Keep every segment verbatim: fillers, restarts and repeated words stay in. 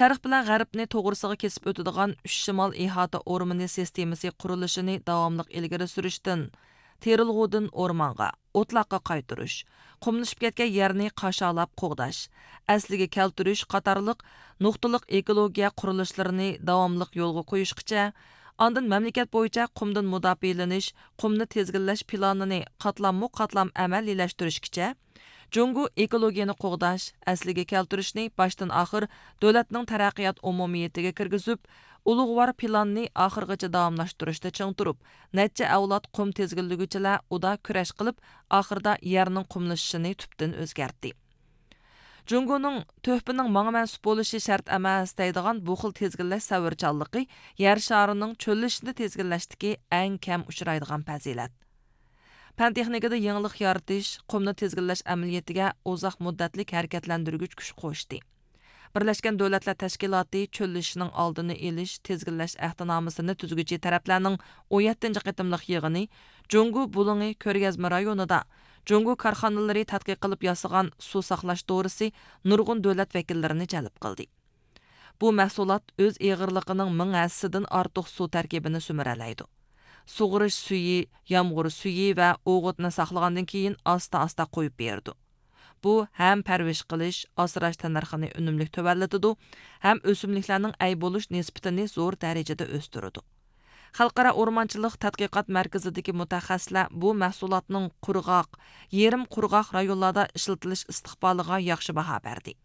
شەرق بىلەن غەربنى توغرىسىغا كېسىپ ئۆتىدىغان ئۈچ شىمال ئىھاتە ئورمىنى سىستېمىسى قۇرۇلۇشىنى داۋاملىق ئىلگىرى سۈرۈشتىن، تېرىلغۇدىن ئورمانغا، ئوتلاققا قايتۇرۇش، قۇملىشىپ كەتكەن يەرنى قاشالاپ قوغداش، ئەسلىگە كەلتۈرۈش قاتارلىق نۇقتىلىق ئېكولوگىيە قۇرۇلۇشلىرىنى داۋاملىق يولغا قويۇشقىچە، ئاندىن مەملىكەت بويىچە قۇمدىن مۇداپىئەلىنىش، قۇمنى تىزگىنلەش پىلانىنى قاتلاممۇ قاتلام ئەمەلىيلەشتۈرۈشكىچە، جۇڭگو ئېكولوگىيەنى قوغداش، ئەسلىگە كەلتۈرۈشنى باشتىن ئاخىر دۆلەتنىڭ تەرەققىيات ئومۇمىيىتىگە كىرگۈزۈپ، ئۇلۇغۋار پىلاننى ئاخىرغىچە داۋاملاشتۇرۇشتا چىڭ تۇرۇپ، نەچچە ئەۋلاد قۇم تىزگىنلىگۈچىلەر ئۇدا كۈرەش قىلىپ، ئاخىرىدا يەرنىڭ قۇملىشىشىنى تۈپتىن ئۆزگەرتتى. جۇڭگونىڭ تۆھپىنىڭ ماڭا مەنسۇپ بولۇشى شەرت ئەمەس دەيدىغان بۇ خىل تىزگىنلەش سەۋرچانلىقى يەر شارىنىڭ چۆللىشىشنى تىزگىنلەشتىكى ئەڭ كەم ئۇچرايدىغان پەزىلەت. پەن تېخنىكىدا يېڭىلىق يارىتىش قۇمنى تىزگىنلەش ئەمەلىيىتىگە ئۇزاق مۇددەتلىك ھەرىكەتلەندۈرگۈچ كۈچ قوشتى. بىرلەشكەن دۆلەتلەر تەشكىلاتى چۆللىشىشنىڭ ئالدىنى ئېلىش، تىزگىنلەش ئەھدىنامىسىنى تۈزگۈچى تەرەپلەرنىڭ ئون يەتتىنچى قېتىملىق يىغىنى جۇڭگو بۇلۇڭى كۆرگەزمە رايونىدا جۇڭگو كارخانىلىرى تەتقىق قىلىپ ياسىغان سۇ ساقلاش دورىسى نۇرغۇن دۆلەت ۋەكىللىرىنى جەلپ قىلدى. بۇ مەھسۇلات ئۆز ئېغىرلىقىنىڭ مىڭ ھەسسىدىن ئارتۇق سۇ تەركىبىنى سۈمۈرەلەيدۇ. سۇغىرىش سۈيى، يامغۇر سۈيى ۋە ئوغۇتنى ساقلىغاندىن كېيىن ئاستا-ئاستا قويۇپ بېرىدۇ. بۇ ھەم پەرۋىش قىلىش، ئاسراش تەننەرخىنى ئۈنۈملۈك تۆۋەنلىتىدۇ، ھەم ئۆسۈملۈكلەرنىڭ ئەي بولۇش نىسبىتىنى زور دەرىجىدە ئۆستۈرىدۇ. خەلقئارا ئورمانچىلىق تەتقىقات مەركىزىدىكى مۇتەخەسسىسلەر بۇ مەھسۇلاتنىڭ قۇرغاق، يېرىم قۇرغاق رايونلاردا ئىشلىتىلىش ئىستىقبالىغا ياخشى باھا بەردى.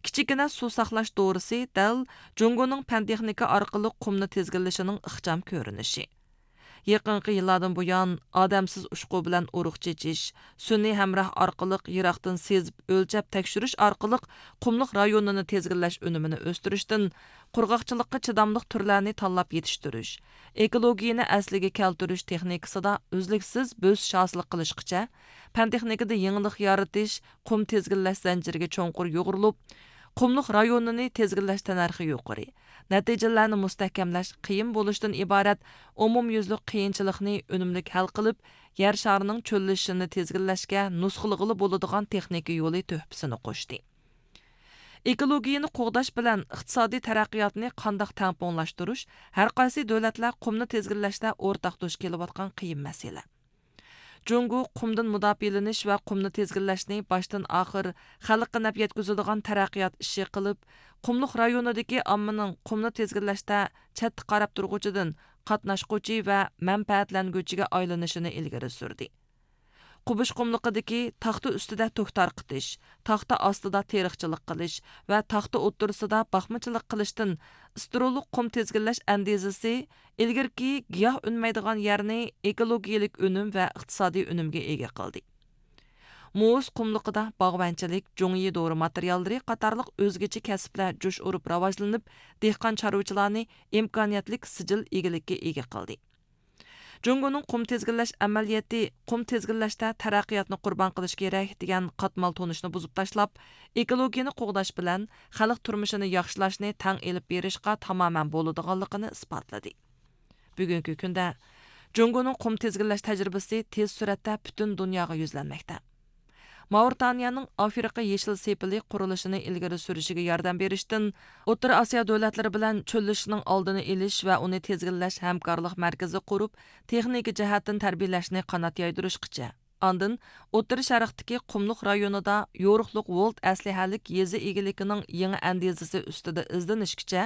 كىچىككىنە سۇ ساقلاش دورىسى دەل جۇڭگونىڭ پەن تېخنىكا ئارقىلىق قۇمنى تىزگىنلىشىنىڭ ئىخچام كۆرۈنۈشى. يېقىنقى يىللاردىن بۇيان، ئادەمسىز ئۇچقۇ بىلەن ئۇرۇق چېچىش، سۈنئىي ھەمراھ ئارقىلىق يىراقتىن سېزىپ ئۆلچەپ تەكشۈرۈش ئارقىلىق قۇملۇق رايونىنى تىزگىنلەش ئۈنۈمىنى ئۆستۈرۈشتىن، قۇرغاقچىلىققا چىداملىق تۈرلەرنى تاللاپ يېتىشتۈرۈش، ئېكولوگىيەنى ئەسلىگە كەلتۈرۈش تېخنىكىسىدا ئۈزلۈكسىز بۆسۈش ھاسىل قىلىشقىچە، پەن تېخنىكىدا يېڭىلىق يارىتىش، قۇم تىزگىنلەش زەنجىرىگە چوڭقۇر يۇغۇرۇلۇپ، قۇملۇق رايونىنى تىزگىنلەش تەننەرخى يۇقىرى، نەتىجىلەرنى مۇستەھكەملەش قىيىن بولۇشتىن ئىبارەت ئومۇميۈزلۈك قىيىنچىلىقنى ئۈنۈملۈك ھەل قىلىپ، يەر شارىنىڭ چۆللىشىشىنى تىزگىنلەشكە نۇسخىلىغىلى بولىدىغان تېخنىكا يولى تۆھپىسىنى قوشتى. ئېكولوگىيەنى قوغداش بىلەن ئىقتىسادىي تەرەققىياتنى قانداق تەڭپۇڭلاشتۇرۇش ھەر قايسى دۆلەتلەر قۇمنى تىزگىنلەشتە ئورتاق دۇچ كېلىۋاتقان قىيىن مەسىلە. جۇڭگو قۇمدىن مۇداپىئەلىنىش ۋە قۇمنى تىزگىنلەشنى باشتىن ئاخىر خەلققە نەپ يەتكۈزىدىغان تەرەققىيات ئىشى قىلىپ، قۇملۇق رايونىدىكى ئاممىنىڭ قۇمنى تىزگىنلەشتە چەتتە قاراپ تۇرغۇچىدىن قاتناشقۇچى ۋە مەنپەئەتلەنگۈچىگە ئايلىنىشىنى ئىلگىرى سۈردى. قوبۇش قۇملۇقىدىكى تاختا ئۈستىدە تۆك تارقىتىش، تاختا ئاستىدا تېرىقچىلىق قىلىش ۋە تاختا ئوتتۇرىسىدا باقمىچىلىق قىلىشتىن ئىسترولۇق قۇم تىزگىنلەش ئەندىزىسى ئىلگىرىكى گىياھ ئۈنمەيدىغان يەرنى ئېكولوگىيەلىك ئۈنۈم ۋە ئىقتىسادىي ئۈنۈمگە ئىگە قىلدى. مۇز قۇملۇقىدا باغۋەنچىلىك، جۇڭيى دورا ماتېرىياللىرى قاتارلىق ئۆزگىچە كەسىپلەر جۇش ئۇرۇپ راۋاجلىنىپ، دېھقان چارۋىچىلارنى ئىمكانىيەتلىك سىجىل ئىگىلىككە ئىگە قىلدى. جۇڭگونىڭ قۇم تىزگىنلەش ئەمەلىيىتى، قۇم تىزگىنلەشتە تەرەققىياتنى قۇربان قىلىش كېرەك دېگەن قاتمال تونۇشنى بۇزۇپ تاشلاپ، ئېكولوگىيەنى قوغداش بىلەن خەلق تۇرمۇشىنى ياخشىلاشنى تەڭ ئېلىپ بېرىشقا تامامەن بولىدىغانلىقىنى ئىسپاتلىدى. بۈگۈنكى كۈندە جۇڭگونىڭ قۇم تىزگىنلەش تەجرىبىسى تېز سۈرئەتتە پۈتۈن دۇنياغا يۈزلەنمەكتە. ماۋرىتانىيەنىڭ ئافرىقا يېشىل سېپىلى قۇرۇلۇشىنى ئىلگىرى سۈرۈشىگە ياردەم بېرىشتىن، ئوتتۇرا ئاسىيا دۆلەتلىرى بىلەن چۆللىشىشنىڭ ئالدىنى ئېلىش ۋە ئۇنى تىزگىنلەش ھەمكارلىق مەركىزى قۇرۇپ، تېخنىكا جەھەتتىن تەربىيەلەشنى قانات يايدۇرۇشقىچە، ئاندىن ئوتتۇرا شەرقتىكى قۇملۇق رايونىدا يورۇقلۇق ۋولت ئەسلىھەلىك يېزا ئىگىلىكىنىڭ يېڭى ئەندىزىسى ئۈستىدە ئىزدىنىشكىچە،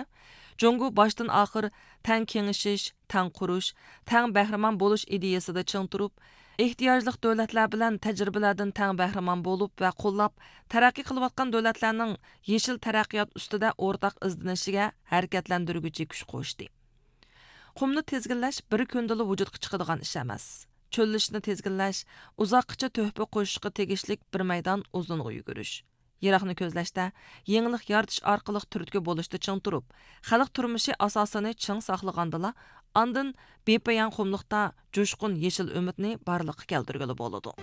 جۇڭگو باشتىن ئاخىر تەڭ كېڭىشىش، تەڭ قۇرۇش، تەڭ بەھرىمەن بولۇش ئىدىيەسىدە چىڭ تۇرۇپ، ئېھتىياجلىق دۆلەتلەر بىلەن تەجرىبىلەردىن تەڭ بەھرىمەن بولۇپ ۋە قوللاپ، تەرەققىي قىلىۋاتقان دۆلەتلەرنىڭ يېشىل تەرەققىيات ئۈستىدە ئورتاق ئىزدىنىشىگە ھەرىكەتلەندۈرگۈچى كۈچ قوشتى. قۇمنى تىزگىنلەش بىر كۈندىلا ۋۇجۇدقا چىقىدىغان ئىش ئەمەس. چۆللىشىشنى تىزگىنلەش ئۇزاققىچە تۆھپە قوشۇشقا تېگىشلىك بىر مەيدان ئۇزۇنغا يۈگۈرۈش. يىراقنى كۆزلەشتە، يېڭىلىق يارىتىش ئارقىلىق تۈرتكە بولۇشتا چىڭ تۇرۇپ، خەلق تۇرمۇشى ئاساسىنى چىڭ ساقلىغاندىلا، ئاندىن بىپايان قۇملۇقتا جۇشقۇن يېشىل ئۈمىدنى بارلىققا كەلتۈرگىلى بولىدۇ.